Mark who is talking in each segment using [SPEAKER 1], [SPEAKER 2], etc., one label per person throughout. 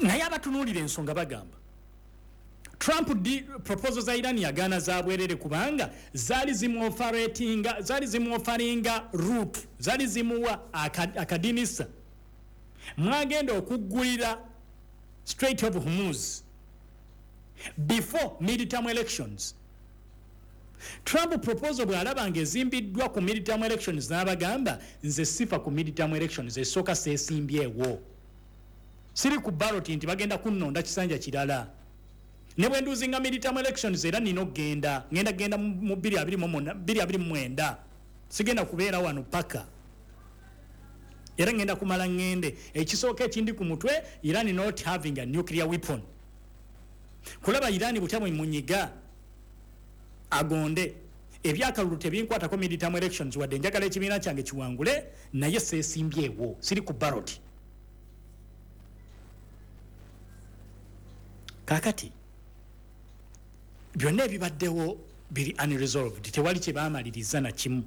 [SPEAKER 1] Naye abatunuulira ensonga bagamba Trump di proposal za Iran yagaana za bwerere, kubanga zaali zimuofferinga, zaali zimuofferinga route, zaali zimuwa akadinisa mwagenda okuggulira Strait of Hormuz before midterm elections. Trump proposal bw'alaba nga ezimbiddwa ku midterm elections, n'abagamba, "Nze sifa ku midterm elections. Esooka, seesimbyewo, siri ku ballot nti bagenda kunnonda kisanja kirala. Ne bwe nlosinga midterm elections, era nina okugenda, ngenda genda mu 2029. Sigenda kubeera wano paka, era ngenda kumala ngende. Ekisooka ekindi ku mutwe, Iran not having a nuclear weapon. Kulaba Iran butya bwe munyiga agonde. Ebyakalulu tebinkwatako. Midterm elections, wadde njagala ekibiina kyange kiwangule, naye seesimbyewo, siri ku ballot." Kakati byonna ebibaddewo biri unresolved, tewali kye baamaliriza na kimu.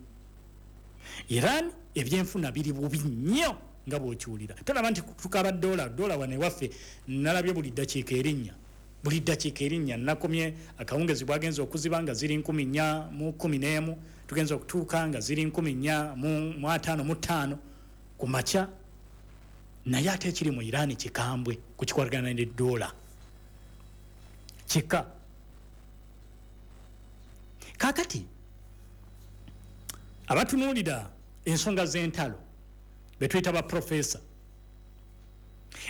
[SPEAKER 1] Iran ebyenfuna biri bubi nnyo nga bw'okiwulira. Tolaba nti tukaba dola dola wano ewaffe? Nalabye buli ddakiika erinnya, buli ddakiika erinnya. Nakomye akawungezi bwagenza okuziba nga ziri 411, tugenza okutuuka nga ziri 455 ku makya. Naye ate ekiri mu Iran kikambwe ku kikwatagana ne dola, kika. Kakati abatunuulira ensonga z'entalo betuyita baprofesa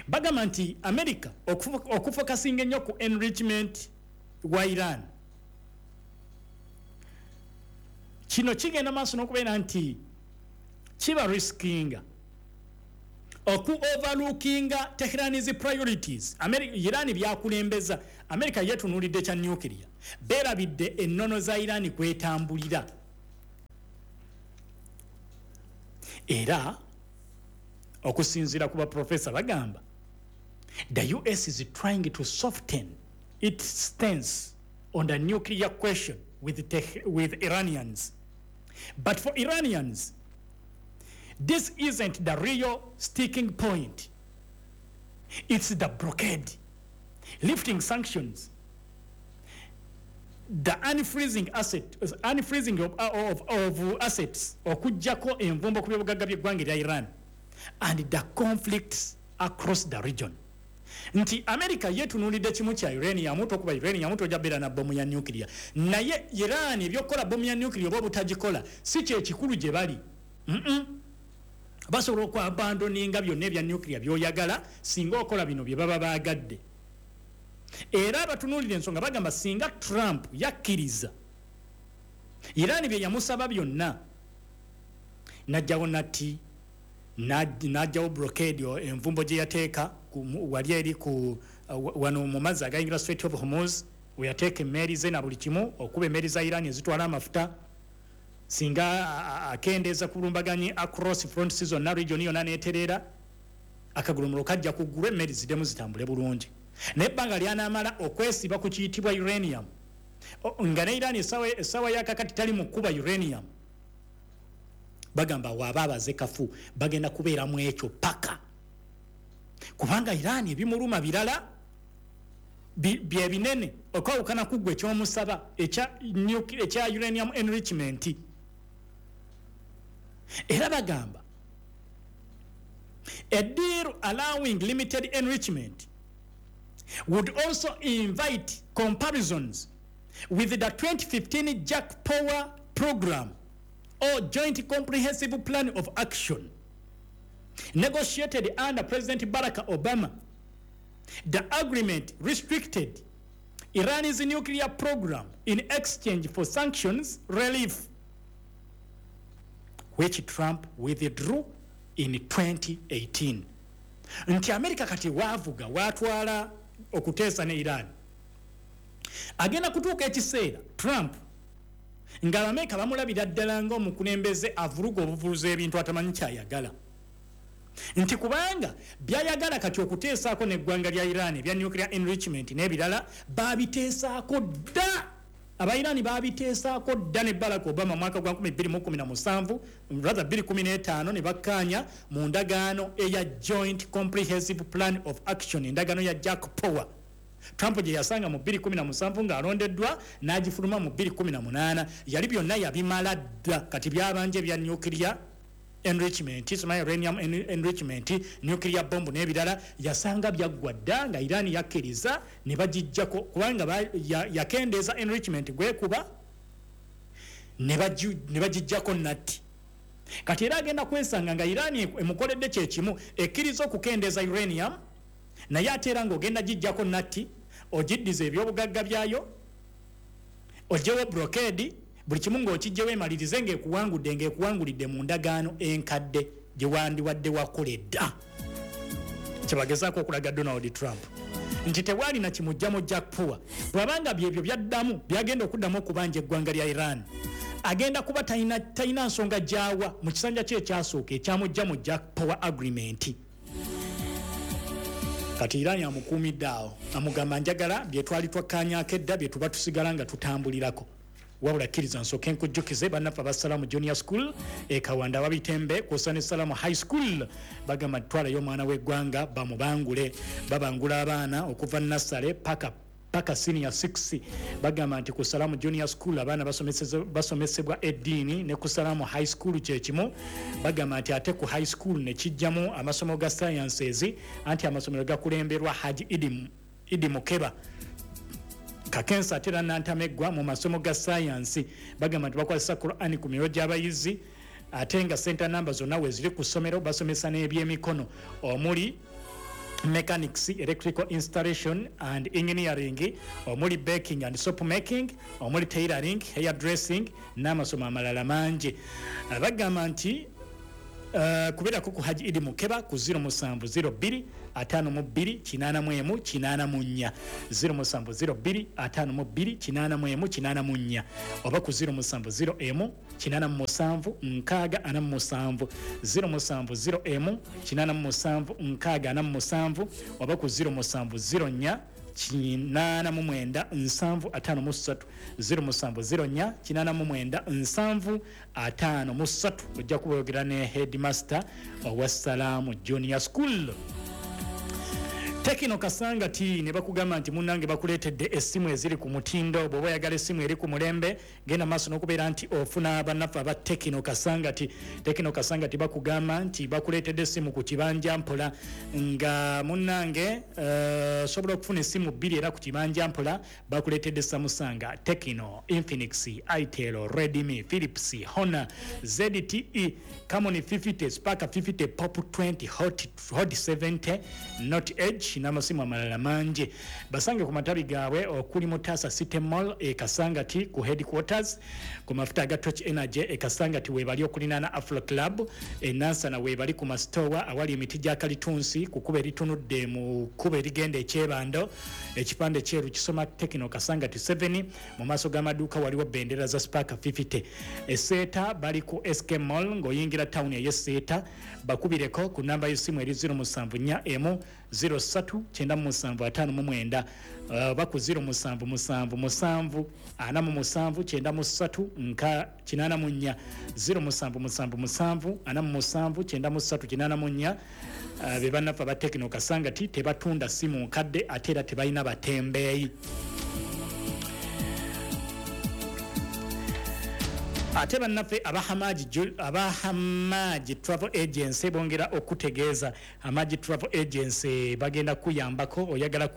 [SPEAKER 1] bagamba nti America okufocusinga ennyo ku enrichment wa Iran, kino kigenda maaso n'okubeera nti kiba riskinga oku overlookinga Tehran's priorities. Iran byakulembeza, America yetunuulidde kya nuclear, beerabidde ennono za Iran kwetambulira. Era okusinziira ku baprofesa bagamba the US is trying to soften its stance on the nuclear question with Iranians, but for Iranians this isn't the real sticking point. It's the blockade, lifting sanctions, the unfreezing of assets, okugjako envumbo ku byobugagga by'eggwanga erya Iran, and the conflicts across the region. Nti America yetunuulidde kimu kya uranium, tokuba uranium tojja beera na bomu ya nuclear. Naye Iran ebyokukola bomu ya nuclear oba obutagikola si kyekikulu gye bali. Basobola okuabandoninga byonna ebya nuclear byoyagala singa okola bino bye baba baagadde. Era abatunuulira ensonga bagamba singa Trump yakkiriza Iran bye yamusaba byonna, najjawo natti, najjawo blockade, envumbo gye yateeka wali eri ku wano mu mazzi agayingira Strait of Hormuz, weyateeka emmeeri ze na buli kimu okuba emmeeri za Iran ezitwala amafuta, singa akendeeza ku bulumbaganyi across front zonna, region yonna netereera, akagulumulo kajja kuggulwa, emmeri ziddemu zitambule bulungi. Naye ebbanga lyanaamala okwesiba ku kiyitibwa uranium, nga ne Iran essaawa yakakati tali mu kkuba uranium, bagamba waaba abaze kafu, bagenda kubeeramu ekyo paka, kubanga Iran ebimuluma birala byebinene okwawukana ku ggwe ekyomusaba ekya uranium enrichment. Era bagamba a deal allowing limited enrichment would also invite comparisons with the 2015 JCPOA program, or Joint Comprehensive Plan of Action, negotiated under President Barack Obama. The agreement restricted Iran's nuclear program in exchange for sanctions relief, which Trump withdrew in 2018. Nti America kati waavuga watwala okuteesa ne Iran, agenda kutuuka ekiseera Trump ng'Abamerika bamulabira ddala ng'omukulembeze avuluga obuvuluzi ebintu, atamanyi kyayagala, nti kubanga byayagala kati okuteesaako n'eggwanga lya Iran ebya nuclear enrichment n'ebirala babiteesaako dda. Abairani babiteesaako dda ne Barack Obama mwaka gwa 2017, rather 2015, ne bakkaanya mu ndagaano eya Joint Comprehensive Plan of Action, endagaano ya JCPOA, Trump gye yasanga mu 2017 ng'alondeddwa, n'agifuluma mu 2018. Yali byonna yabimala dda. Kati byabanja ebya nuclear enrichment, simanyi uranium enrichment, nuclear bomb n'ebirala, yasanga byaggwa dda nga Iran yakkiriza ne bagijjako, kubanga yakendeeza enrichment gwekuba ne bagijjako natti. Kati era agenda kwesanga nga Iran emukoledde kyekimu, ekkiriza okukendeeza uranium, naye ate era ng'ogenda gijjako natti, ogiddiza ebyobugagga byayo, ogyewo blockade, buli kimu ng'okijjewo, emalirize ng'ekuwangudde, ng'ekuwangulidde mu ndagaano enkadde gye wandiwadde wakola edda. Kyebagezaako okulaga Donald Trump nti tewalina kimujja mu JCPOA, bw'abanga byebyo byaddamu byagenda okuddamu okubanja eggwanga lya Iran, agenda kuba talina nsonga gyawa mu kisanja kye ekyasooka ekyamujja mu JCPOA agreement. Kati Iran amukuumidde awo, amugamba, "Njagala bye twali twakkaanyaako edda bye tuba tusigala nga tutambulirako." Wabula kkiriza nsooke nkujjukize bannaffe abasalamu Junior School e Kawanda, Wabitembe, kwosa ne Salamu High School. Bagamba twalayo omwana w'eggwanga bamubangule. Babangula abaana okuva nursery paka senior 6. Bagamba nti ku Salamu Junior School abaana basomesebwa eddiini, ne ku Salamu High School kyekimu. Bagamba nti ate ku high school nekijjamu amasomo ga sciences, anti amasomero gakulemberwa Haji Idi Mukeba Kakensa, ate era nantameggwa mu masomo ga sayansi. Bagamba nti bakwasisa Qurani ku miro gy'abayizi, ate nga center number zonna weziri ku ssomero. Basomesa n'ebyemikono omuli mechanics, electrical installation and engineering, omuli baking and soap making, omuli tailoring, hair dressing n'amasomo amalala mangi. Bagamba nti kubeerako ku Haji Idi Mukeba ku 0702 52 81 84, 0702 52 81 84, oba ku 0701 87 60 47, 0701 87 60 47, oba ku 0704 89 70 53, 0704 89 70 53. Ojja kubayogera ne headmaster owa Salaamu Junior School. Tecno Kasanga ti ne bakugamba nti munnange bakuleetedde essimu eziri ku mutindo. Bw'oba oyagala essimu eri ku mulembe, genda maaso n'okubeera nti ofuna bannaffe aba Tecno Kasangati. Tecno Kasangati bakugamba nti bakuleetedde essimu ku kibanja mpola, nga munnange osobola okufuna essimu bbiri era ku kibanja mpola. Bakuleetedde Samsung, Tecno, Infinix, Itel, Redmi, Philips, Honor, ZTE Camon 50, Spark 50, Pop 20, Hot 70, Note Edge n'amasimu amalala mangi. Basange ku matabi gaabwe okuli Mutasa City Mall e Kasangati ku headquarters, ku mafuta aga Torch Energy e Kasangati webali okulinaana Afro Club. E Nansana webali ku masitowa awali emiti gya kalitunsi, ku kkubo eritunudde mu kkubo erigenda ekyebando, ekipande kyeru kisoma Tecno Kasangati 7. Mu maaso g'amaduuka waliwo bendera za Spark 50. Eseeta bali ku SK Mall ng'oyingira tawuni ey'Eseeta. Bakubireko ku namba y'essimu eri 074 03 9759, oba ku 0777 47 93 nka 84, 0777 47 93 84. Be bannaffe aba Tecno Kasangati. Tebatunda simu nkadde, ate era tebalina batembeeyi. Ate bannaffe aba Hamaji Travel Agency bongera okutegeeza. Hamaji Travel Agency bagenda kuyambako. Oyagala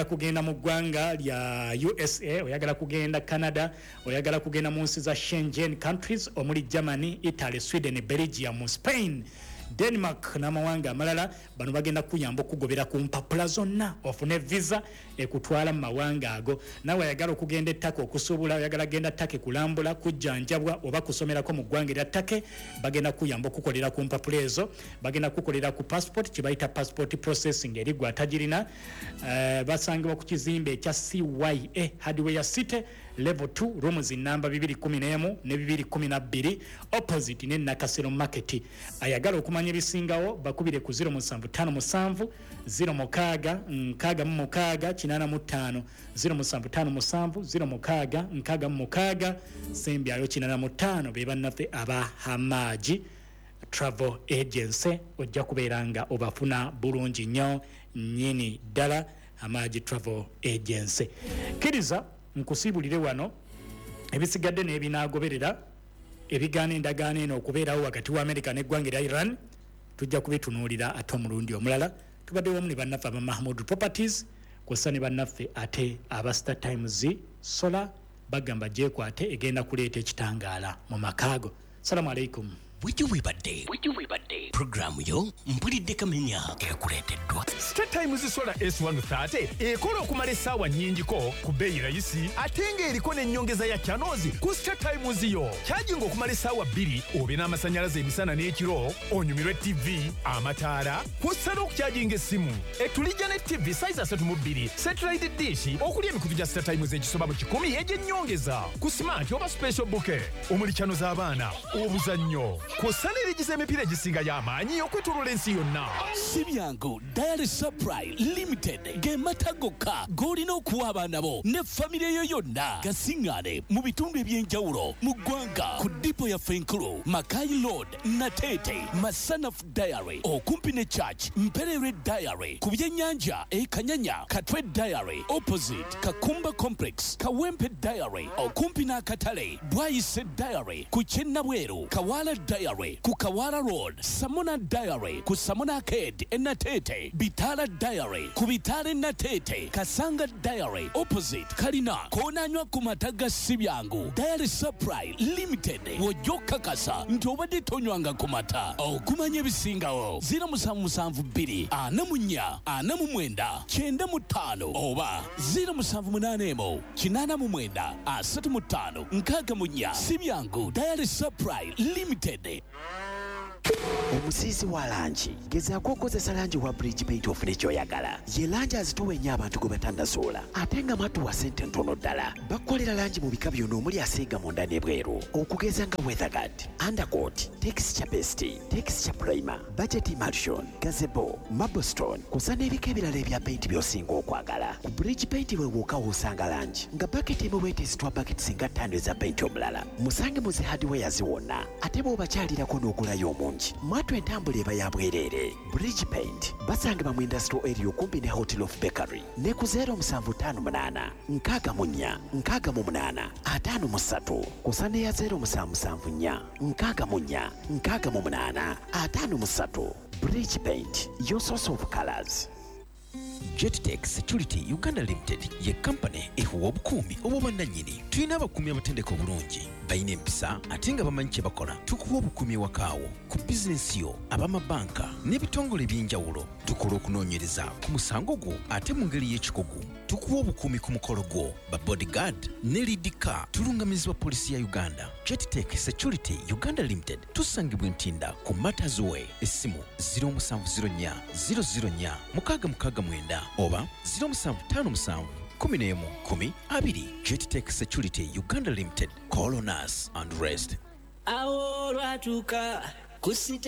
[SPEAKER 1] kugenda mu ggwanga lya USA, oyagala kugenda Canada, oyagala kugenda mu nsi za Schengen countries omuli Germany, Italy, Sweden, Belgium, Spain, Denmark n'amawanga amalala, bano bagenda kuyamba okugobera ku mpapula zonna ofune visa ekutwala mu mawanga ago. Nawe ayagala okugenda e Turkey okusuubula, oyagala genda Turkey kulambula, kujjanjabwa oba kusomerako mu ggwanga erya Turkey, bagenda kuyamba okukolera ku mpapula ezo. Bagenda kukolera ku passport, kibayita passport processing eri gwe atagirina. Basangibwa ku kizimbe ekya CYA Hardware City. Level 2, rooms namba 211 ne 212, opposite ne Nakasero Market. Ayagala okumanya ebisingawo bakubire ku 0757 06 66 85, 0757 06 66 sembyayo 85. Be bannaffe aba Hamaji Travel Agency, ojja kubeera nga obafuna bulungi nnyo nnyini ddala. Hamaji Travel Agency. Kkiriza nkusiibulire wano, ebisigadde n'ebinaagoberera ebigaana endagaano eno okubeerawo wakati wa America n'eggwanga erya Iran tujja kubitunuulira ate omulundi omulala. Tubadde wamu ne bannaffe aba Mahmud Properties, kw'ossa ne bannaffe ate aba Star Times Solar. Bagamba gyekwate, egenda kuleeta ekitangaala mu makaago. Salamu alaikum.
[SPEAKER 2] Bwekyo bwebadde puroguramu yo Mpulidde Kamenya, ekuleeteddwa
[SPEAKER 3] Star Times Solar S130, ekola okumala essaawa nnyingiko ku bbeeyi rayisi, ate ng'eriko n'ennyongeza ya channels ku Star Times yo. Kyajinga okumala essaawa 2, obe n'amasannyalaze emisana n'ekiro, onyumirwe TV, amataala, kw'ossa n'okukyajinga essimu. Etulijja ne TV size 32, satellite dish okuli emikutu gya Star Times egisoba mu 100 egy'ennyongeza ku smart oba special bouquet, omuli channel z'abaana, obuzannyo, kw'ossa n'erigiza emipiira egisinga y'amaanyi okwetooloola ensi yonna.
[SPEAKER 2] Si byangu. Dairy Supply Limited ge mata gokka g'olina okuwa abaana bo ne famire yo yonna. Gasiŋŋaane mu bitundu eby'enjawulo mu ggwanga, ku depot yaffe enkulu Makai Road, Nateete, Masanaf Dairy okumpi ne church, Mperere Dairy ku byennyanja e Kanyanya, Katwe Dairy opposite Kakumba Complex, Kawempe Dairy okumpi n'akatale, Bwayise Dairy ku Kyennabweru, Kawala Dairy ku Kawala Road, Samona Dairy ku Samona Arcade e Nateete, Bitala Dairy ku Bitala e Nateete, Kasanga Dairy opposite Kalina. Koonanywa ku mata ga Sibyangu Dairy Supply Limited, wojja okukakasa nti obadde tonywanga ku mata. Okumanya ebisingawo, 0772 44 49 95 oba 0781 89 35 64. Sibyangu Dairy Supply Limited.
[SPEAKER 4] Omusiizi wa langi, gezaako okozesa langi wa Bridge Paint ofune ky'oyagala. Ye langi azitowa ennyo abantu gwe batannasoola, ate nga matuwa ssente ntono ddala. Bakukolera langi mu bika byonna omuli asiiga munda n'ebweru, okugeza nga weatherguard, undercoat, texture paste, texture primer, budget emulsion, gazebo, marblestone, kw'ossa n'ebika ebirala ebya paint by'osinga okwagala. Ku Bridge Paint we wokka w'osanga langi nga baketi emu bwetezitwa baketi singa 5 eza paint omulala. Musange mu zi hardwares wonna, ate bw'obakyalirako n'ogulayo omungi, mwatu entambula eba ya bwereere. Bridge Paint basangibwa mu industrial area okumpi ne Hotel of Bakery, ne ku 0758 64 68 53, kw'ossa n'eya 0774 64 68 53. Bridge Paint, your source of colors.
[SPEAKER 5] Jettech Security Uganda Limited ye kampani ekuwa obukuumi obw'obwannannyini. Tulina abakuumi abatendeka obulungi, balina empisa ate nga bamanyi kye bakola. Tukuwa obukuumi ewakaawo, ku bizinesi yo, ab'amabanka n'ebitongole eby'enjawulo. Tukola okunoonyereza ku musango gwo ate mu ngeri y'ekikugu. Tukuwa obukuumi ku mukolo gwo, ba bodyguard ne lead car. Tulungamizibwa poliisi ya Uganda. Jettech Security Uganda Limited tusangibwa Ntinda ku Matters Way. Essimu 0704 004 669 oba 0757 11 10 20. Jettech Security Uganda Limited. Call on us and rest.
[SPEAKER 6] Awo olwatuuka ku site.